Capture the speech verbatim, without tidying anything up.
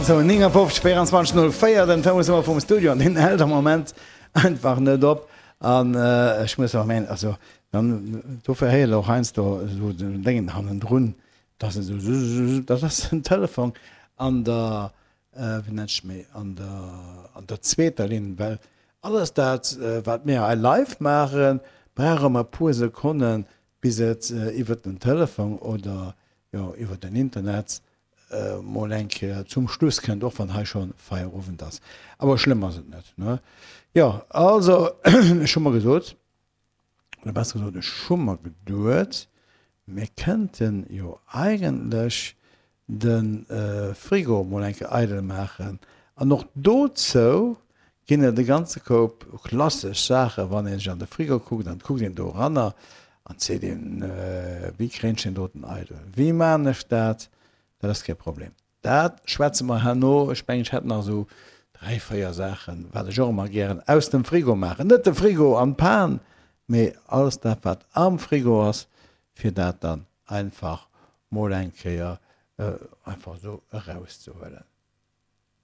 Sou, néngafofzeg, véierenzwanzeg, null véier, den Telefonsnummer vum Studio, an deen hält am Moment einfach net op. An ech muss och mengen, also dann dofir héiert Der och heiansdo esou den Déngen hannendrun, dass esou zzzz, dat ass den Telefon an der, wéi nennt sech méi, an der, an der zweeter Linn, well alles dat, wat mir hei live maachen, brauch ëmmer e puer Sekonnen, bis et iwwert den Telefon oder jo iwwert den Internet mol eng Kéier zum Schluss kënnt, och wann hei scho Feierowend ass. Awer schlëmm ass et net, ne? Jo, also ech hu mer gesot, oder besser gesot, ech hu mer geduet, mir kënnten jo eigentlech de Frigo mol eng Kéier eidel maachen. An och dozou ginn et e ganze Koup klassesch Saachen, wann ee sech an de Frigo kuckt, an et kuckt een do eranner an et seet een, Wéi kréien ech deen doten eidel? Wéi maan ech dat? Dat ass kee Problem. Dat schwätze mer herno. Ech mengen, ech hätt nach esou dräi, véier Saachen, wat ech och ëmmer gären aus dem Frigo maachen. Net de Frigo an d'Pan, mee alles dat, wat am Frigo ass, fir dat dann einfach mol eng Kéier einfach esou erauszehuelen.